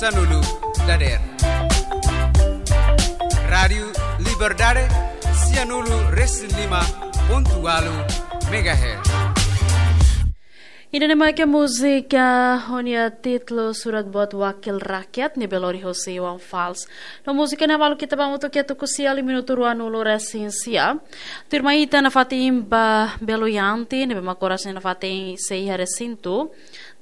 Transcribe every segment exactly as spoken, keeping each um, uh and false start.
sanulu dadeer. Rádiu Liberdade, sianulu resin lima pontu ualu megahertz. Ida-ne'e mak múzika ho nia títulu Surat Buat Wakil Rakyat ne'ebé lori hosi Iwan Fals. No múzika ne'e malu ita ba hamutuk iha tuku sia liu minutu ruanulu resin sia. Tuirmai ita nafatin ba Belo Yanti, ne'ebé mak oras ne'e nafatin sei iha resintu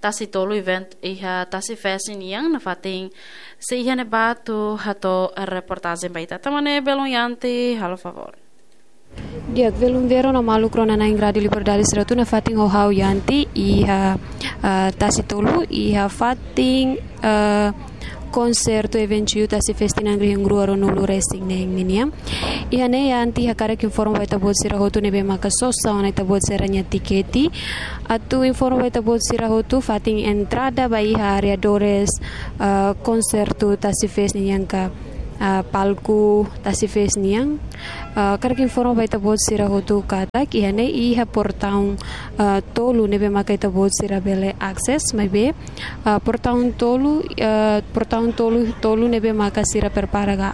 Tasi Tolu event iha Tasi Fest nian, nafatin sei iha ne'ebá atu hato'o reportajen ba ita. Tama ne'e Belo Yanti, halo favór. Di'ak, Belun Vero no maluk rona-na'in Rádiu Liberdade sira hotu, nafatin ho ha'u Yanti iha, ah, Tasi Tolu, iha fatin, ah, konsertu eventu Tasi Fest tinan rihun rua ruanulu resin neen ninian. Iha ne'e Yanti hakarak informa ba ita-boot sira hotu ne'ebé maka sosa ona ita-boot sira-nia tikete. Atu informa ba ita-boot sira hotu fatin entrada ba iha arredores, ah, konsertu Tasi Fest nian ka, ah, palku Tasi Fest nian. Ah, hakarak informa ba ita-boot sira hotu katak iha ne'e iha portaun, ah, tolu ne'ebé maka ita-boot sira bele akses, maibé, ah, portaun tolu, ah, portaun tolu, tolu ne'ebé maka sira prepara ka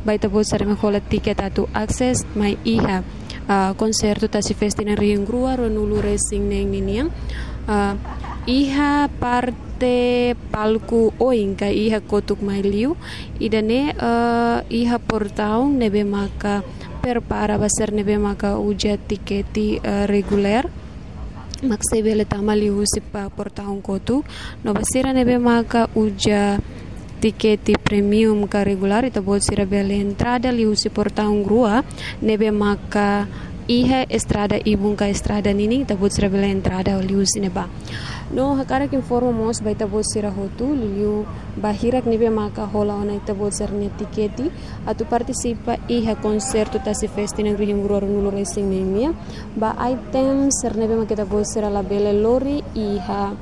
ba ita-boot sira mak hola tiket atu akses mai iha, ah, konsertu Tasi Fest tinan rihun rua ruanulu resin neen ninian. Ah, iha parte palku oin ka iha kotuk mai liu, ida-ne'e, eh, iha portaun ne'ebé maka prepara ba sira ne'ebé maka uza tikete, eh, regulár. Mak sei bele tama liuhusi portaun kotuk. No ba sira ne'ebé maka uza tikete premium ka regulár, ita-boot sira bele entrada liuhusi portaun rua, ne'ebé maka iha estrada ibun ka estrada ninin, ita-boot sira bele entrada liuhusi ne'ebá. No hakarak informa mós ba ita-boot sira hotu, liuliu ba hirak ne'ebé maka hola ona ita-boot sira-nia tikete atu partisipa iha konsertu Tasi Fest tinan rihun rua ruanulu resin neen nian. Ba item sira ne'ebé maka ita-boot sira labele lori iha,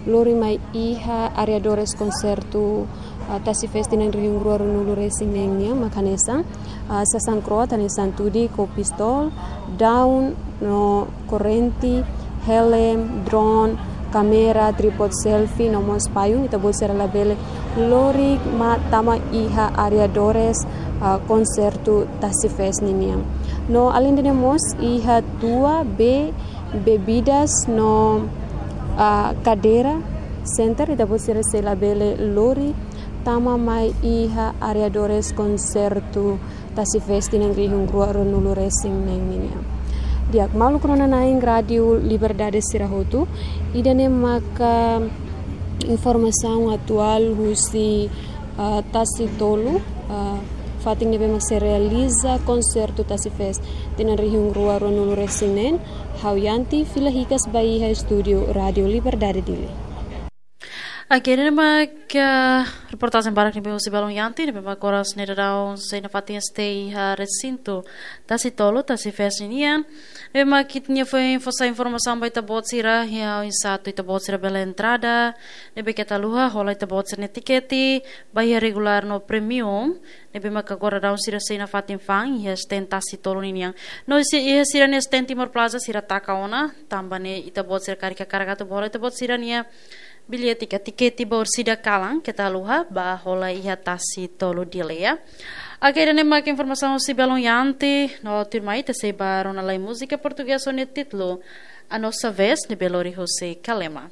lori mai iha arredores konsertu, ah, Tasi Fest tinan rihun rua ruanulu resin neen nian mak hanesan, ah, sasán kro'at hanesan tudik ou pistol, daun no korrente, helm, drone, kámera, trípode selfie, no mós payung, ita-boot sira labele lori mai tama iha arredores, ah, konsertu Tasi Fest ninian. No alende ne'e mós iha tua, bee, bebidas no, ah, kadeira center, ita-boot sira sei labele lori tama mai iha arredores konsertu Tasi Fest tinan rihun rua ruanulu resin neen ninian. Di'ak, maluk rona-na'in Rádiu Liberdade sira hotu, ida-ne'e maka informasaun atuál husi, ah, Tasi Tolu, ah, fatin ne'ebé mak sei realiza konsertu Tasi Fest tinan rihun rua ruanulu resin neen. Ha'u Yanti fila hikas ba iha estúdiu Rádiu Liberdade Dili. Oke, ida-ne'e mak reportajen badak ne'ebé husi Belun Yanti, ne'ebé mak oras ne'e daudaun sei nafatin stay iha resintu Tasi Tolu, Tasi Fest nian. Ne'ebé mak ita-nia foin fó sai informasaun ba ita-boot sira, iha oinsá atu ita-boot sira bele entrada, ne'ebé keta haluha, hola ita-boot sira-nia tikete ba iha regulár no premium, ne'ebé mak agora daudaun sira sei nafatin fa'an iha stand Tasi Tolu ninian. No iha sira-nia stand Timor Plaza sira taka ona, tanba ne'e ita-boot sira karik hakarak atu hola ita-boot sira-nia billete ka tikete ba orsida kalan, keta haluha, bá hola iha Tasi Tolu Dili. Oke, ida-ne'e mak informasaun husi Belun Yanti, no tuirmai ita sei bá rona lai múzika portugés ho nia títulu A Nossa Vez, ne'ebé lori husi Kalema.